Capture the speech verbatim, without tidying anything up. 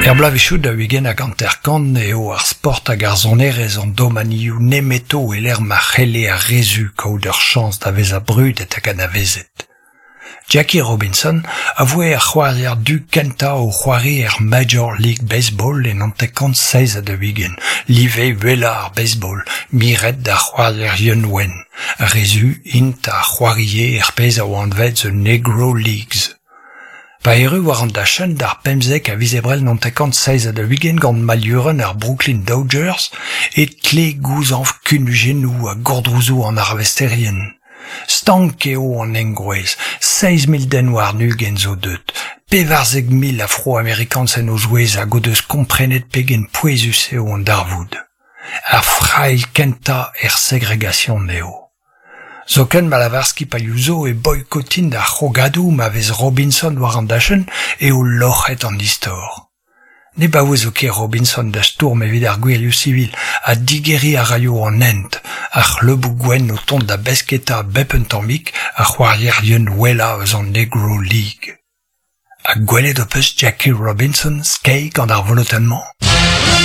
Er bloavezhioù daou-ugent hag hanter-kant eo ar sport hag ar sonerezh an domanioù nemeto e-lec'h ma c'helle ar re zu kaout ur chañs da vezañ brudet hag anavezet. Jackie Robinson a voe ar c'hoarier du kentañ o c'hoari er Major League Baseball en hanter-kant seizh ha daou-ugent, live uhelañ ar baseball, miret d'ar c'hoarierien wenn. Ar re zu int a c'hoarie er pezh a oa anvet The Negro Leagues. Pa erru war an dachenn d'ar pemzek a viz Ebrel hanter-kant seizh ha daou-ugent gant mailhurenn ar Brooklyn Dodgers e tle gouzañv kunujennoù ha gourdrouzoù an arvesterien. Stank eo an engroez, seizh mil den warn-ugent zo deuet, pevarzek mil Afro-Amerikanz en o zouez hag o deus komprenet pegen pouezus eo an darvoud. Ar frailh kentañ er segregasion eo. Zoken ma lavar skipailhoù zo e boikotint ar c'hrogadoù ma vez Robinson war an dachenn eo loc'het an istor. Ne baouezo ket Robinson da stourm evit ar gwirioù sivil ha digeriñ a raio an hent, ar c'hleuboù gwenn o tont da besketa bep un tammig ar c'hoarierien wellañ eus an Negro League. Ha gwelet ho peus Jackie Robinson skeiñ gant ar volotenn-mañ ?